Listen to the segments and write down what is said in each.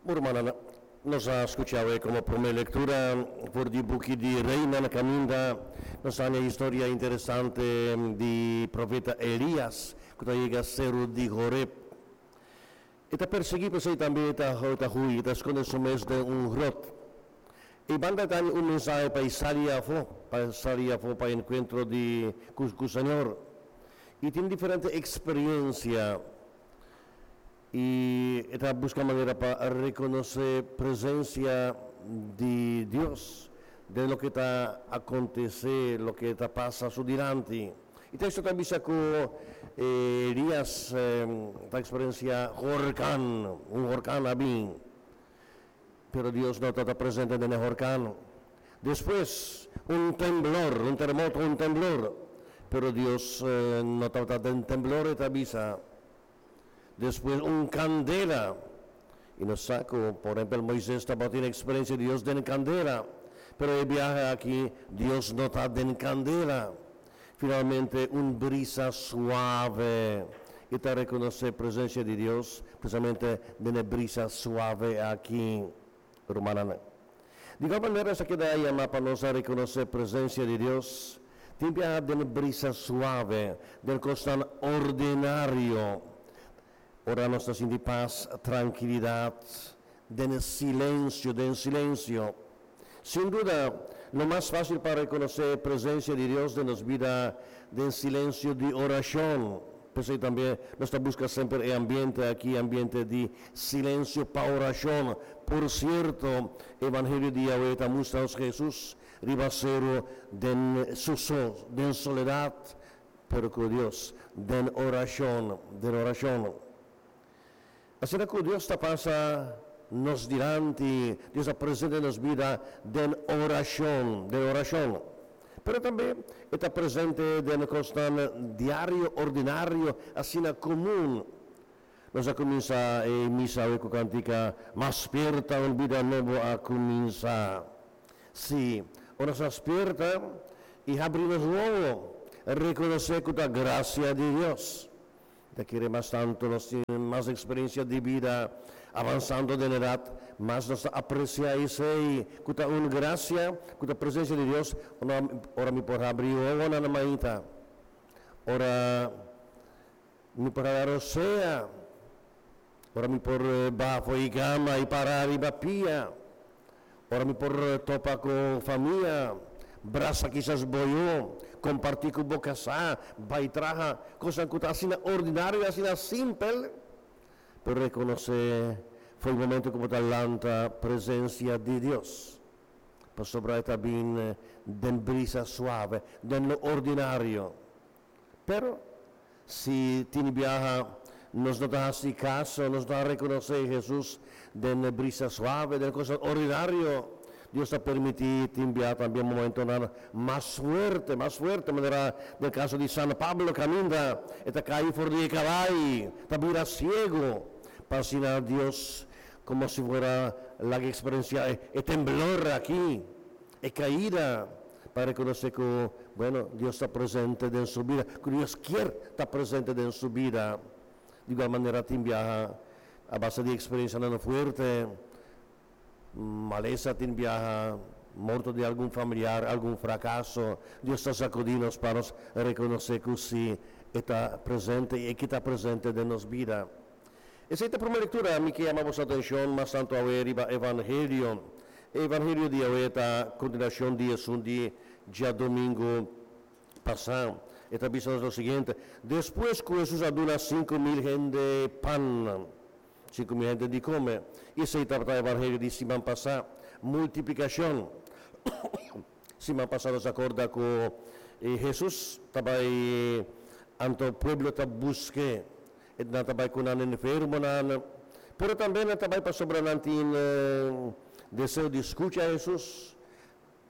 Rumannan, nos a skucha awe komo promé lektura for di buki di Reinan kaminda nos a haña historia interesante di profeta Elias ku ta yega seru di Horeb. E ta persiguí, p'esei tambe e ta ta hui, e ta skonde su mes den un grot. E banda ta haña un mensahe pa e sali afó, pa e sali afó pa enkuentro di ku ku Señor. I tin diferente eksperensia i e ta buska manera pa rekonosé presensia di Dios den loke ta akontesé, loke ta pasa su dilanti. E teksto ta bisa ku Elias ta eksperensiá horkan, un horkan a bin, pero Dios no tabata presente den e horkan. Despues, un temblor, un teremoto, un temblor, pero Dios no tabata den temblor, e ta bisa. Despues, un kandela. I nos sa ku, por ehempel, Moises tabatin eksperensia di Dios den kandela, pero e biaha aki Dios no ta den kandela. Finalmente, un brisa suave. I ta rekonosé presensia di Dios precisamente den e brisa suave aki, rumannan. Di igual manera nos a keda yamá pa nos a rekonosé presensia di Dios tin biaha den e brisa suave, den kosnan ordinario. Ora nos ta sinti pas, trankilidat, den e silensio, den silensio. Sin duda, lo mas fásil pa rekonosé e presensia di Dios den nos bida den silensio di orashon. P'esei tambe nos ta buska semper e ambiente aki, ambiente di silensio pa orashon. Por sierto, Evangelio di Yahweh ta mustra nos Hesus riba seru den su so, den soledat, pero ku Dios, den orashon, den orashon. Asina ku Dios ta pasa nos dilanti, Dios ta presente den nos bida den orashon, den orashon. Pero tambe e ta presente den kosnan diario, ordinario, asina komun. Nos a kuminsá e misa awe ku kantika Mas spierta un bida nobo a kuminsá. Sí, ora nos a spierta i habri nos wowo, rekonosé ku ta grasia di Dios. Ta kere mas tantu nos tin mas eksperensia di bida, avansando den edat, mas nos ta apresiá esei ku ta un grasia, ku ta presensia di Dios, ora mi por habri wowonan mainta, ora mi por hala rosea, ora mi por baha for di kama i para riba pia. Ora mi por topa ku famia, brasa kisas bo yu, kompartí ku bo kasá, bai traha, kosnan ku ta asina ordinario i asina simpel, pero rekonosé for e momento ku bo ta lanta presensia di Dios, pasobra e ta bin den brisa suave, den lo ordinario. Pero, si tin biaha nos no ta hasi kaso, nos no a rekonosé Hesus den e brisa suave, den e kosnan ordinario, Dios ta permití tin biaha tambe momentonan mas fuerte, mas fuerte, manera den kaso di San Pablo kaminda e ta kai for di e kabai, ta bira siegu, pa asina Dios komo si fuera laga eksperensiá e temblor aki. E kaida pa rekonosé ku, bueno, Dios ta presente den su bida, ku Dios kier ta presente den su bida. Di igual manera tin biaha a base di eksperensianan fuerte, malesa tin biaha, morto di algun familiar, algun frakaso, Dios ta sakudí nos pa nos rekonosé ku sí, E ta presente i E ke ta presente den nos bida. Esei ta promé lektura. Mi ke yama boso atenshon mas tantu awe riba Evangelio. E Evangelio di awe ta kontinuashon di esun di djadumingu pasá. E ta bisa nos lo siguiente, Despues ku Hesus a duna 5000 hende pan, 5000 hende di kome, esei tabata Evangelio di siman pasá, multiplikashon. Siman pasá nos a korda ku Hesus ta bai anto pueblo ta busk'é. Nan ta bai ku nan enfermonan, pero tambe nan ta bai pasobra nan tin deseo di skucha Hesus,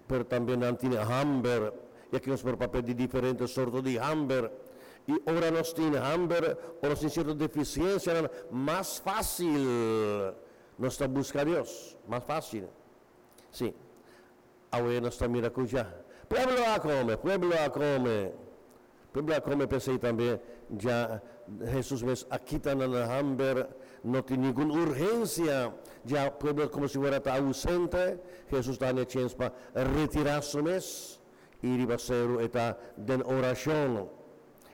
pero tambe nan tin hamber. I aki nos por papia di diferente sorto di hamber. I ora nos tin hamber, ora nos tin sierto defisiensianan, mas fásil nos ta buska Dios, mas fásil. Sí. Awe nos ta mira ku dja pueblo a kome, pueblo a kome, pueblo a kome. P'esei tambe dja Hesus mes a kita nan hamber. No tin ningun urgensia, ya pueblo komo si fuera ta ousente, Hesus ta haña chèns pa retirá su mes i riba seru e ta den orashon.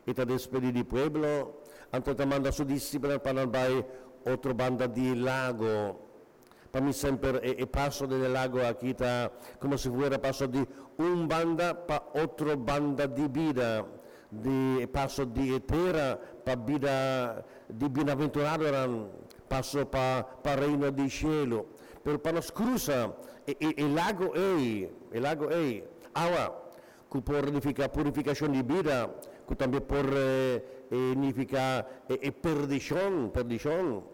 E ta despedí di pueblo, anto e ta manda su disipelnan pa nan bai otro banda di e lago. Pa mi semper e e paso den e lago aki ta komo si fuera paso di un banda pa otro banda di bida, di e paso di e tera pa bida di bienaventuradonan, paso pa pa reino di shelu. Pero pa nos krusa e e e lago ei, e lago ei, awa ku por nifiká purifikashon di bida, ku tambe por nifiká e e perdishon, perdishon.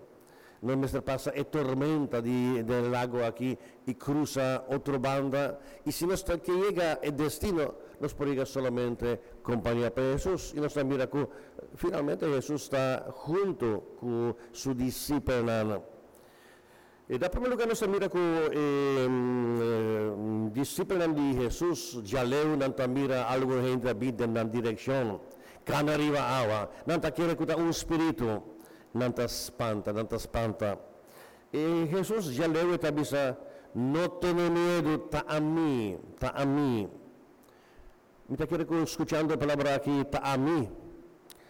Nos mester pasa e tormenta di den lago aki i krusa otro banda, i si nos ta ke yega e destino, nos por yega solamente kompañá pa Hesus. I nos ta mira ku finalmente Hesus ta huntu ku su disipelnan. E na primer lugar nos ta mira ku e disipelnan di Hesus djaleu nan ta mira algun hende a bin den nan direkshon, kana riba awa. Nan ta kere ku ta un spiritu. Nan ta spanta, nan ta spanta. I Hesus djaleu e ta bisa, No tene miedu, ta ami, ta ami. Mi ta kere ku skuchando e palabra aki, ta ami,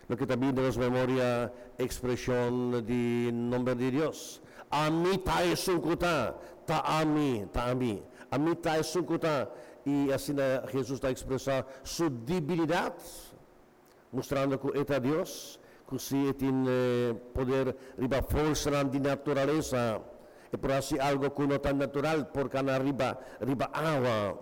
loke ta bin den nos memoria ekspreshon di nomber di Dios. Ami ta esun ku ta, ta ami, ta ami. Ami ta esun ku ta. I asina Hesus ta ekspresá su dibilidat. Mustrando ku e ta Dios, ku si e tin poder riba forsanan di naturalesa, e por hasi algo ku no ta natural, por kana riba riba awa.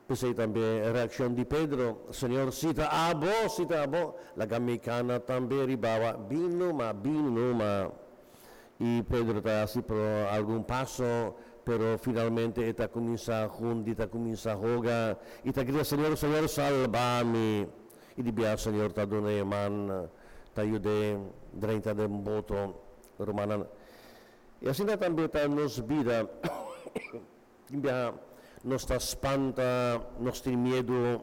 P'esei tambe reakshon di Pedro, Señor, si ta abo, si ta abo, laga mi kana tambe riba awa. Bin numa, bin numa. I Pedro ta hasi por algun paso, pero finalmente e ta kuminsá hundi, ta kuminsá hoga i ta grita, Señor, Señor, salba mi! I di biaha Señor ta duna e man, ta yud'é drenta den boto. Rumannan, i asina tambe ta nos bida. Tin biaha nos ta spanta, nos tin miedu,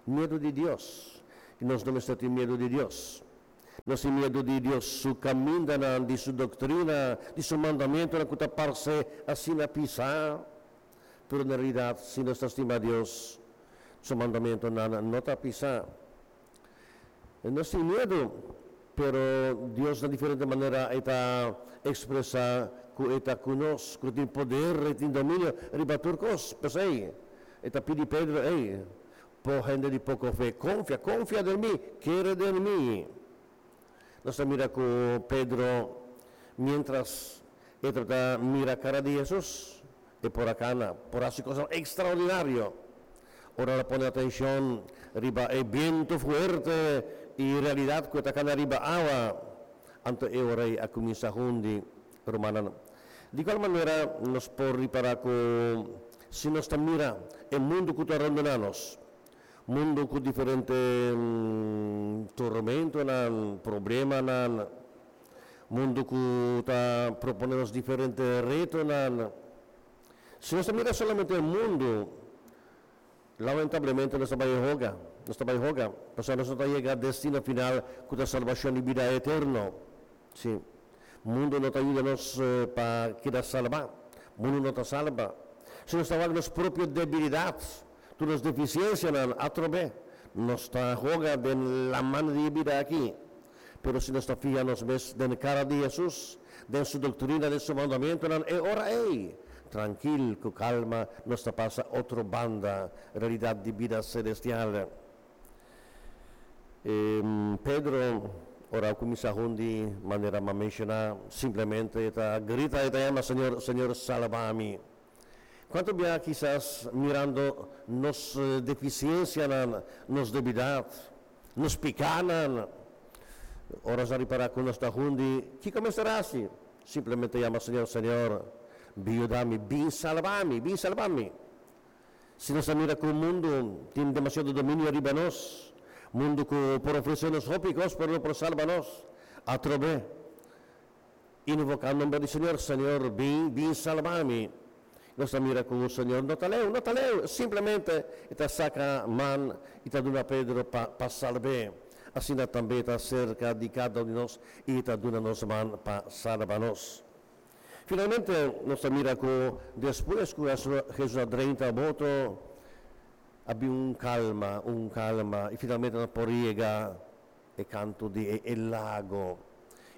miedu di Dios. I nos no mester tin miedu di Dios. Nos tin miedu di Dios su kamindanan, di su doktrina, di su mandamentunan ku ta parse asina pisá. Pero na realidat, si nos ta stima Dios, su mandamentunan no ta pisá. Nos tin miedu, pero Dios na diferente manera e ta ekspresá ku e ta ku nos, ku e tin poder, e tin dominio riba tur kos. P'esei, e ta pidi Pedro, Ey, Po hende di poko fe, konfia, konfia den mi, kere den mi. Nos ta mira ku Pedro, miéntras e tabata mira kara di Hesus, e por a kana, por hasi kosnan ekstraordinario. Ora el a pone atenshon riba e bientu fuerte i realidat ku e ta kana riba awa, anto e ora ei a kuminsá hundi. Rumannan, di kual manera nos por ripará ku si nos ta mira e mundu ku ta rondoná nos, mundu ku diferente tormentonan, problemanan, mundu ku ta proponé nos diferente retonan, si nos ta mira solamente e mundu, lamentablemente nos ta bai hoga, nos ta bai hoga, pasobra nos no ta yega destino final ku ta salbashon i bida eterno. Sí. Mundu no ta yuda nos pa keda salbá. Mundu no ta salba. Si nos ta wak nos propio debilidat, tur nos defisiensianan, atrobe nos ta hoga den laman di e bida aki. Pero si nos ta fiha nos mes den kara di Hesus, den su doktrina, den su mandamentunan, e ora ei, trankil, ku kalma, nos ta pasa otro banda, realidat di bida selestial. Pedro, ora a kuminsá hundi, manera m'a menshoná, simplemente e ta grita, e ta yama, Señor, Señor, salba mi! Kuantu bia kisas mirando nos defisiensianan, nos debidat, nos pikánan, ora nos a ripará ku nos ta hundi, kiko mester hasi? Simplemente yama, Señor, Señor, bin yuda mi, bin salba mi, bin salba mi! Si nos a mira ku mundu tin demasiado dominio riba nos, mundu ku por ofresé nos hopi kos pero no por salba nos, atrobe invoká nomber di Señor, Señor, bin, bin salba mi. Nos ta mira ku Señor no ta leu, no ta leu, simplemente e ta saka man i ta duna Pedro pa pa salb'é. asina tambe ta serka di kada un di nos i ta duna nos man pa salba nos. Finalmente, nos ta mira ku despues ku Hesus a drenta boto, a bin un kalma, un kalma, i finalmente nan por yega e kantu di e lago.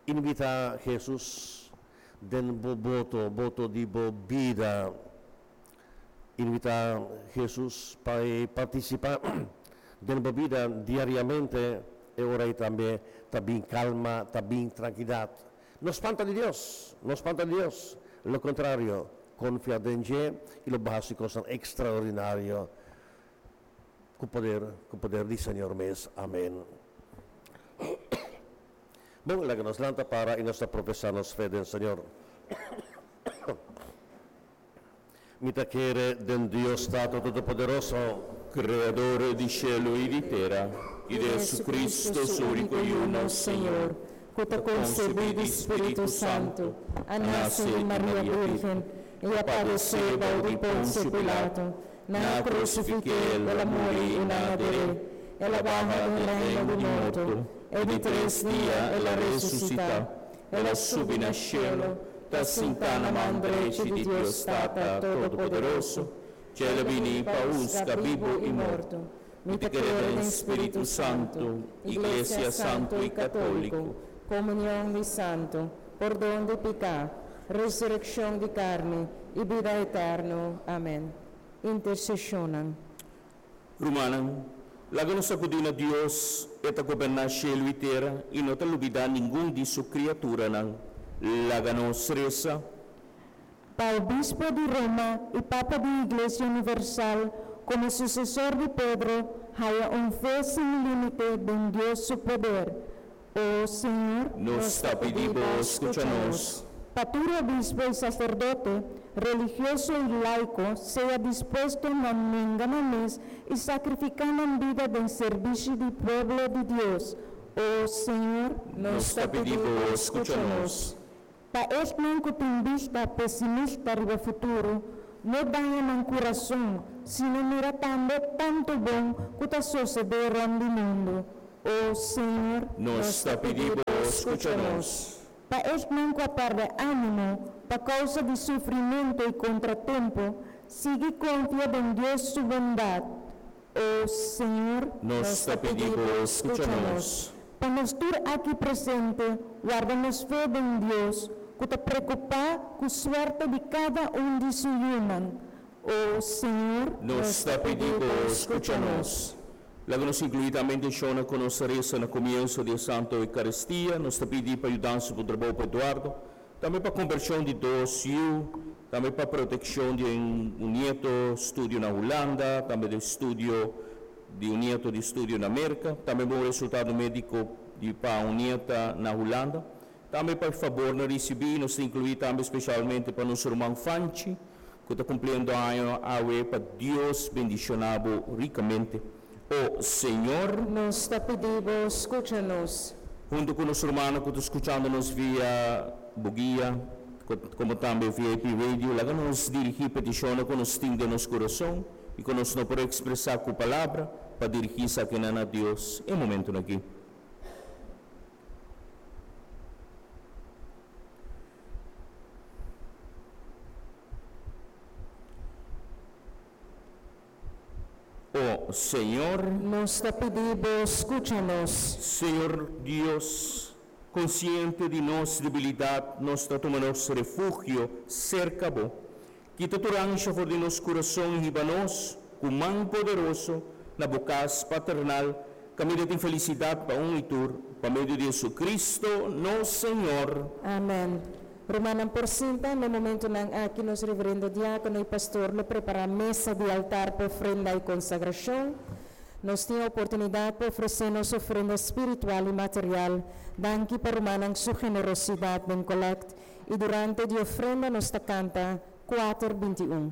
Invitá Hesus den bo boto, boto di bo bida. Invitá Hesus pa e partisipá den bo bida diariamente, e ora ei tambe ta bin kalma, ta bin trankilidat. No spanta di Dios, no spanta di Dios. Lo kontrario, konfia den dje i lo bo hasi kosnan ekstraordinario ku poder, ku poder di Señor mes. Amen. Bon, laga nos lanta para i nos ta profesá nos fe den Señor. Mi ta kere den Dios Tata Todopoderoso. Kreador di shelu i di tera, i di Jesucristo, su úniko Yu, nos Señor, ku ta konsebí di Spiritu Santu, a nase di Maria Bírgen, i a padesé bou di Ponsio Pilato, nan a krusifik'é, el a muri i nan a der'é, el a baha den reino di morto, e di tres dia el a resusitá. El a subi na shelu, ta sintá na man drechi di Dios Tata Todopoderoso, dje el a bini pa husga bibu i morto. Mi ta kere den Spiritu Santu, Iglesia Santu i Katóliko, Komunion di santu, pordon di piká, resurekshon di karni i bida eterno. Amèn. Interseshonnan. Rumannan, laga nos akudí na Dios, E ta goberná shelu i tera i no ta lubidá ningun di su kriaturanan. Laga nos resa. Pa Obispo di Roma i Papa di Iglesia Universal komo susesor di Pedro haya un fe sin límite den Dios su poder. O Señor. Nos ta pidi Bo, skucha nos. Pa tur obispo i saserdote, religioso i laiko, sea dispuesto na nenga nan mes i sakrifiká nan bida den serbishi di pueblo di Dios. O Señor. Nos ta pidi Bo, skucha nos. Pa esnan ku tin bista pesimista riba futuro, no daña nan kurason, sino mira tambe tantu bon ku ta sosedé rònt di mundu. O Señor. Nos ta pidi Bo, skucha nos. Pa esnan ku a pèrdè ánimo pa kousa di sufrimentu i kontratempu, sigui konfia den Dios su bondat. O Señor. Nos ta pidi Bo, skucha nos. Pa nos tur aki presente warda nos fe den Dios ku ta preokupá ku suerte di kada un di su yunan. O Señor. Nos ta pidi Bo, skucha nos. Laga nos inkluí tambe intenshonnan ku nos a resa na komienso di e Santo Eukaristia. Nos ta pidi pa yudansa ku trabou pa Eduardo, tambe pa kombershon di dos yu, tambe pa protekshon di un nieto studio na Hulanda, tambe di studio di un nieto di studio na Merka, tambe bon resultado médiko di pa un nieta na Hulanda. Tambe pa e fabornan risibí, nos ta inkluí tambe speshalmente pa nos ruman Fanchi, ku ta kumpliendo aña awe, pa Dios bendishoná bo rikamente. O Señor. Nos ta pidi bo skucha nos. Huntu ku nos rumannan ku ta skuchando nos via bo guia, komo tambe via AP Radio, laga nos dirigí petishonnan ku nos tin den nos kurason i ku nos no por ekspresá ku palabra, pa dirigí esakinan na Dios e momentunan akí. O Señor. Nos ta pidi Bo scucha nos. Señor Dios, consciente di nos debilidad, nos ta tuma nos refugio cerca Bo. Kita tur ansha for di nos kurason i hiba nos, ku man poderoso, na bo kas paternal, kaminda tin felisidat pa un i tur, pa medio di Jesucristo, nos Señor. Amen. Rumannan por sinta, na e momentonan aki nos reverendo diákono i pastor lo prepará mesa di altar pa ofrenda i konsagrashon. Nos tin e oportunidat pa ofresé nos ofrenda spiritual i material. Danki pa rumannan su generosidat den kolèkt. I durante di ofrenda nos ta kanta kuater 21.